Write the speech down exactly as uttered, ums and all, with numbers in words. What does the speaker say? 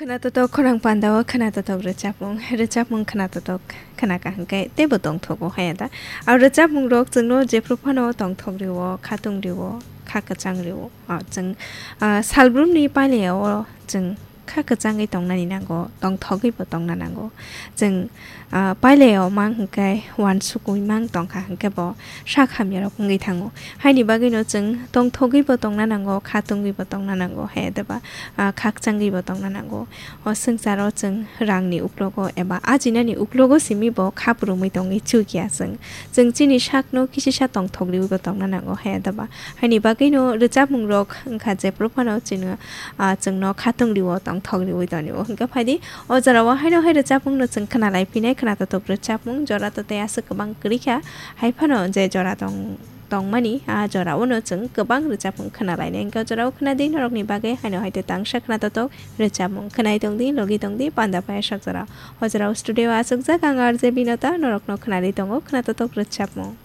Khwnatotok khorang pandao khwnatotok rwchapmung, rwchapmung khwnatotok khwnaka hwnkhe teibo tongthogo haya da. Aro rwchapmungrok chwngno jephru phano tongthok rwo, khatung rwo, kha kwchang rwo. O chwng, ah, salbrumni pailao chwng kha kwchangwi tongnani nango, tongthogwibo tongna nango. Chwng, ah, pailao mang hwnkhe uansukwi mang tongkha hwnkhe bo sak hamyarok wngwi thango. Haini bagwino chwng tongthogwibo tongna nango, kha tungwibo tongna nango, hai adaba, ah, khakchangwibo tongna nango. O swngcharo chwng rangni uklogo eba ajinani uklogo simi bo kha phrwngwi tongwi chukya chwng. Chwng chini sakno kisisa tongthok riwibo tongna nango, hai adaba. Haini bagwino rwchapmungrok wngkha jephru phano chwngno, ah, chwngno khatung riwo, tongthok riwi tonio. Hwnkhe phaidi o jorao haino hai rwchapmungno chwng khwnalai phinai, khwnatotok rwchapmung jora to tei aswk kwbang kwrwi kha. Hai phano je jora tong, tongmani, a jorao no chwng kwbang rwchapmung khwnalainai. Hwnkhe o jorao khwnadi norokni bagwi haino hai tei tangsa khwnatotok rwchapmung khwnai tongdi, logi tongdi, panda paiyasak jora. O jorao studio o achukjak ang R J Binota, norokno khwnadi tongo khwnatotok rwchapmung.